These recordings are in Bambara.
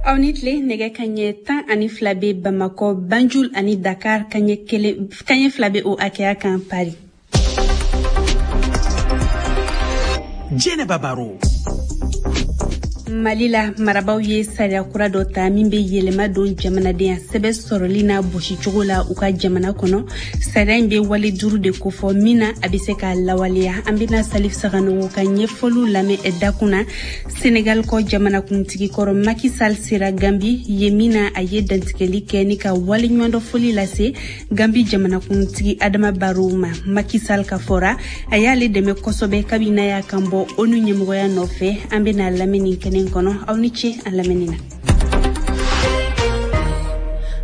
Aw ni tile. Nɛgɛ kaɲɛ 12 bɛ Bamakɔ, Banjul ani Dakar, kaɲɛ kelen, kaɲɛ 2 bɛ o hakɛya kan Paris. Jɛnɛba Baro. Mali la, marabaw ye sariya kura dɔ ta min bɛ yɛlɛma don jamanadenya sɛbɛn sɔrɔli n'a bɔsicogo la u ka jamana kɔnɔ. Sariya in bɛ wale duuru de kofɔ min na a bɛ se ka lawaleya. An bɛna Salif Saganogo ka ɲɛfɔliw lamɛn dakun na. Senegal kɔ, jamanakuntigi kɔrɔ Macky Sall sera Gambi ye min na a ye dantigɛli kɛ ni ka waleɲumandɔ foli lase Gambi jamanakuntigi Adama Barrow ma. Macky Sall ka fɔra, a y'ale dɛmɛ kosɛbɛ kabi n'a y'a kan bɔ ONU ɲɛmɔgɔya nɔfɛ. An bɛna lamɛn nin kɛnɛ kɔnɔ. Aw ni ce an lamɛnni na.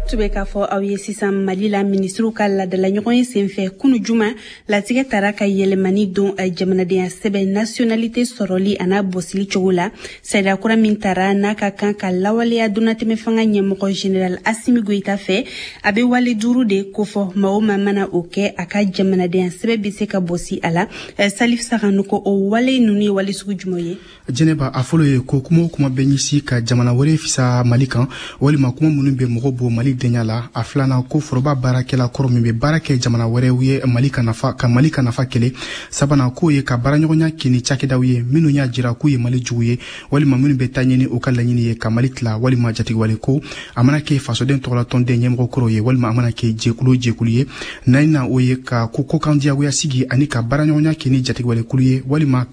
Tun bɛ k'a fɔ aw ye sisan, Mali la, minisiriw ka ladala ɲɔgɔn ye senfɛ kunu juma, latigɛ tara ka yɛlɛmani don jamanadenya sɛbɛn nationalité sɔrɔli a n'a bɔsili cogo la. Sariya kura min tara n'a ka kan ka lawaleya donnatɛmɛ fanga ɲɛmɔgɔ général Asimi Goyita fɛ, a bɛ wale duuru de kofɔ. Maa o maa mana o kɛ, a ka jamanadenya sɛbɛn bɛ se ka bɔsi a la. Salif Saganogo, o wale ninnu ye wale sugu jumɛn ye? Jɛnɛba, a fɔlɔ ye ko kuma o kuma bɛ ɲɛsin ka jamana wɛrɛ fisa Mali kan, walima kuma minnu bɛ mɔgɔ bɔ Mali denya la. A filanan, ko foroba baarakɛla kɔrɔ min bɛ baara kɛ jamana wɛrɛw ye Mali ka nafa ka Mali ka nafa kɛlɛ. Sabanan, k'o ye ka baaraɲɔgɔnya kɛ ni cakɛdaw ye minnu y'a jira k'u ye Mali jugu ye, walima minnu bɛ taa ɲini u ka laɲini ye ka Mali tila, walima jatigɛwale ko, a mana kɛ fasoden tɔgɔlatɔnden ɲɛmɔgɔ kɔrɔ ye, walima a mana kɛ jɛkulu jɛkulu ye. Naaninan, o ye ka ko kokan diyagoya sigi ani ka baaraɲɔgɔnya kɛ ni jatigɛwalekulu ye, walima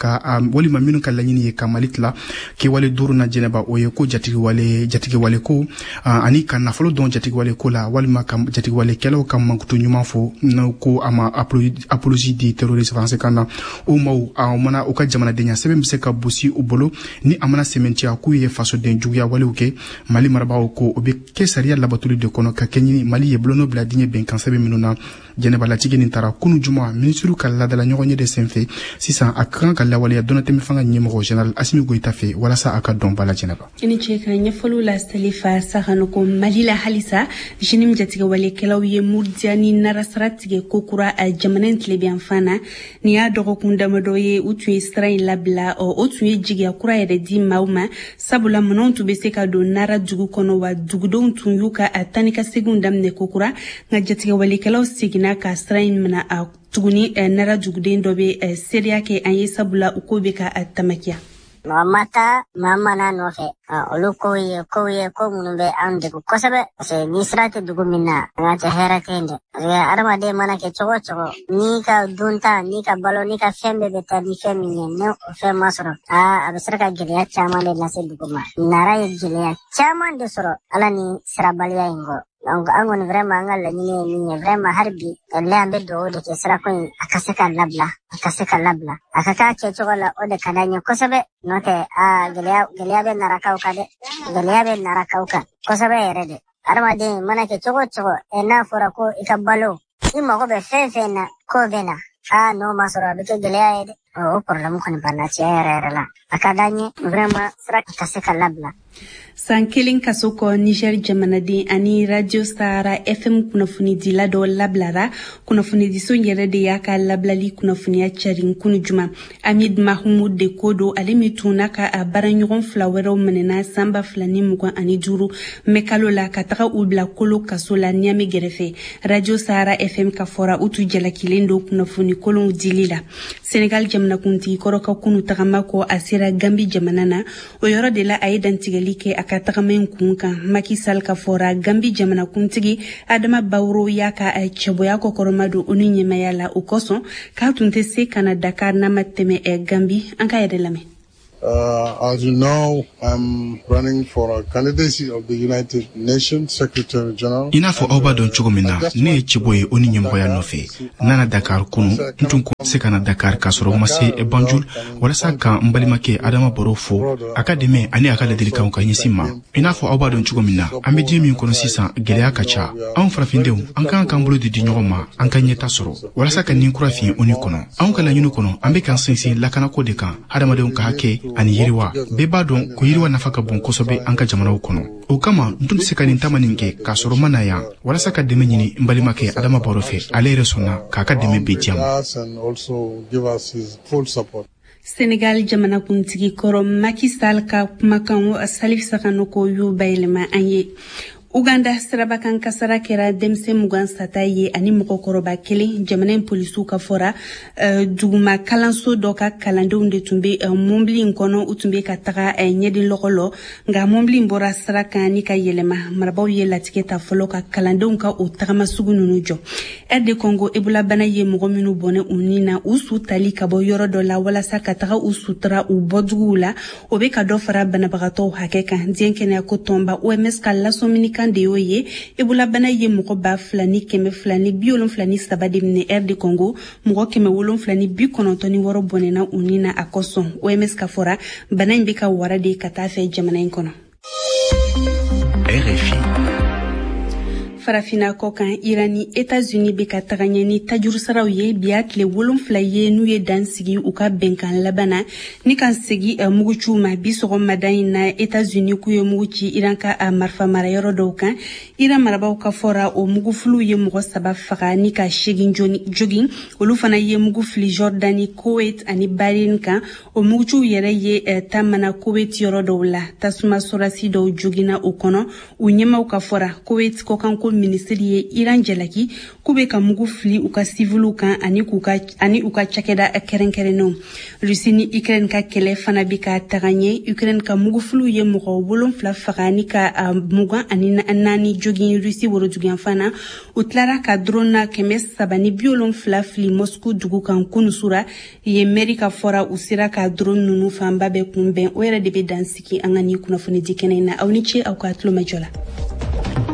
minnu ka laɲini ye ka Mali tila. Kɛwale duuru na, Jɛnɛba, o ye ko jatigɛwale ko ani ka nafolo dɔn jatigɛwale ko la, walima ka jatigɛwalekɛlaw ka mankutu ɲuman fɔ, n'o ko a ma apologie du terrorisme français kan na. O maaw a mana u ka jamanadenya sɛbɛn bɛ se ka bosi u bolo ni a mana sɛmɛntiya k'u ye fasoden juguya walew kɛ. Mali marabagaw ko o bɛ kɛ sariya labatoli de kɔnɔ ka kɛɲɛ ni Mali ye bolonɔ bila diɲɛ bɛnkan sɛbɛn minnu na. Jɛnɛba, latigɛ nin tara kunu juma minisiriw ka ladala ɲɔgɔn ye de senfɛ. Sisan a ka kan ka lawaleya donnatɛmɛ fanga ɲɛmɔgɔ général Asimi Goyita fɛ walasa a ka dɔn ba la, Jɛnɛba. I ni ce ka ɲɛfɔliw la, Salifa Sahanoko. Mali la halisa, JNIM jatigɛwalekɛlaw ye Murdiya ni Nara sira tigɛ kokura a jamana in tilebiyanfan na. Nin y'a dɔgɔkun damadɔ ye u tun ye sira in labila. O tun ye jigiya kura yɛrɛ di maaw ma, sabula minɛnw tun bɛ se ka don Nara dugu kɔnɔ, wa dugudenw tun y'u ka tani ka seginw daminɛ kokura. Nka jatigɛwalekɛlaw seginna ka sira in minɛ a tuguni. Nara duguden dɔ bɛ seereya kɛ an ye, sabula u ko bɛ ka tamakiya. Mɔgɔ ma taa maa mana nɔfɛ, olu kow ye kow ye ko minnu bɛ an degun kosɛbɛ, parce que ni sira tɛ dugu min na, an ka cɛ, hɛrɛ tɛ yen dɛ, parce que adamaden mana kɛ cogo o cogo, n'i ka dunta, n'i ka balo, n'i ka fɛn bɛɛ bɛ taa ni fɛn min ye, ni o fɛn ma sɔrɔ, aa, a bɛ se ka gɛlɛya caman de lase dugu ma. Nara ye gɛlɛya caman de sɔrɔ ala ni sirabaliya in kɔ. Donc an kɔni, vraiment, an ka laɲini ye min ye, vraiment, hali bi, walahi, an bɛ dugawu de kɛ sirako in a ka se ka labila, a ka se ka labila, a ka k'a kɛcogo la. O de ka d'an ye kosɛbɛ. N'o tɛ, aa, gɛlɛya, gɛlɛya bɛ Narakaw kan dɛ, gɛlɛya bɛ Narakaw kan kosɛbɛ yɛrɛ de. Adamaden mana kɛ cogo o cogo, ɛ, n'a fɔra ko i ka balo, i mago bɛ fɛn fɛn na k'o bɛ na, aa, n'o ma sɔrɔ, a bɛ kɛ gɛlɛya ye dɛ. O problème kɔni banna tiɲɛ yɛrɛ yɛrɛ la. A ka d'an ye vraiment sira ka se ka labila. San kelen kaso kɔ, Niger jamanaden ani Radio Sahara FM kunnafonidila dɔ labilara. Kunnafonidiso yɛrɛ de y'a ka labilali kunnafoniya carin kunu juma. Hamid Mahmoud de ko don, ale min tun n'a ka a baaraɲɔgɔn fila wɛrɛw minɛna san 2025 mɛ kalo la ka taga u bila kolo kaso la Niamey gɛrɛfɛ. Radio Sahara FM ka fɔra, u tun jalakilen don kunnafoni kolonw dili la. Senegal jamanakuntigi kɔrɔ ka kunu tagama kɔ, a sera Gambi jamana na. O yɔrɔ de la, a ye dantigɛli kɛ a ka tagama in kun kan. Macky Sall ka fɔra, Gambi jamanakuntigi Adama Barrow y'a ka cɛbɔya kɔkɔrɔma don ONU ɲɛmaya la. O kosɔn k'a tun tɛ se ka na Dakar n'a ma tɛmɛ Gambi. An ka yɛrɛ lamɛn. As you know, I'm running for a candidacy of the United Nations Secretary General. I n'a fɔ aw b'a dɔn cogo min na, ne ye cɛbɔ ye ONU ɲɛmɔgɔya nɔfɛ. N nana Dakar kunu. N tun ko se ka na Dakar k'a sɔrɔ n ma se Banjul walasa ka n balimakɛ Adama Barrow fo a ka dɛmɛ ani a ka ladilikanw ka ɲɛsin ma. I n'a fɔ aw b'a dɔn cogo min na, an bɛ diɲɛ min kɔnɔ sisan, gɛlɛya ka ca. Anw farafindenw, an kan k'an bolo di di ɲɔgɔn ma, an ka ɲɛta sɔrɔ walasa ka nin kura fiɲɛ ONU kɔnɔ. Anw ka laɲini kɔnɔ, an bɛ k'an sinsin lakanako de kan, hadamadenw ka hakɛ ani yiriwa. Bɛɛ b'a dɔn ko yiriwa nafa ka bon kosɛbɛ an ka jamanaw kɔnɔ. O kama n tun tɛ se ka nin taama nin kɛ k'a sɔrɔ ma na yan walasa ka dɛmɛ ɲini n balimakɛ Adama Barrow fɛ. Ale yɛrɛ sɔnna k'a ka dɛmɛ bɛɛ di yan ma. Senegal jamanakuntigi kɔrɔ Macky Sall ka kumakan, Salif Sakanoko y'o bayɛlɛma an ye. Uganda, sirabakan kasara kɛra denmisɛn 20 sata ye ani mɔgɔkɔrɔba kelen, jamana in polisiw ka fɔra. Duguma kalanso dɔ ka kalandenw de tun bɛ mɔbili in kɔnɔ. U tun bɛ ka taga ɲɛden lɔgɔ lɔ, nka mɔbili in bɔra sira kan ni ka yɛlɛma. Marabaw ye latigɛ ta fɔlɔ ka kalandenw ka o tagama sugu ninnu jɔ. RD Congo, ebolabana ye mɔgɔ minnu bɔnɛ u ni na, u su tali ka bɔ yɔrɔ dɔ la walasa ka taga u sutura u bɔduguw la, o bɛ ka dɔ fara banabagatɔw hakɛ kan. Diɲɛ kɛnɛyako tɔnba OMS ka lasɔmini kan de y'o ye. Ebolabana ye mɔgɔ 2273 de minɛ RD Congo. Mɔgɔ 796 bɔnɛna u ni na a kosɔn. OMS ka fɔra, bana in bɛ ka wara de ka taa fɛ jamana in kɔnɔ. RFI. Farafina kɔ kan, Iran ni Etats-Unis bɛ ka taga ɲɛ ni tajurusaraw ye. Bi y'a tile 7 ye n'u ye dan sigi u ka bɛnkan laban na ni ka segi muguciw ma. Bi sɔgɔmada in na, Etats-Unis k'u ye mugu ci Iran ka marifa marayɔrɔ dɔw kan. Iran marabaw ka fɔra, o mugufiliw ye mɔgɔ saba faga ni ka segin jogin. Olu fana ye mugu fili Jordani, Kuwait ani Bahrain kan. O muguciw yɛrɛ ye ta mana Kuwait yɔrɔ dɔw la, tasuma sɔrasi dɔw joginna o kɔnɔ, u ɲɛmaw ka fɔra. Kuwait kɔkanko minisiri ye Iran jalaki k'u bɛ ka mugu fili u ka siviliw kan ani u ka cakɛda kɛrɛnkɛrɛnnenw. Rusi ni Ukraine ka kɛlɛ fana bɛ ka taga ɲɛ. Ukraine ka mugufiliw ye mɔgɔ 7 faga ni ka 24 jogin Rusi woroduguyanfan na. U tilara ka drone 370 fili Moscou dugu kan kunusura yen. Mɛri ka fɔra, u sera ka drone ninnu fanba bɛɛ kunbɛn. O yɛrɛ de bɛ dan sigi an ka nin kunnafoni di kɛnɛ in na. Aw ni ce aw ka tulomajɔ la.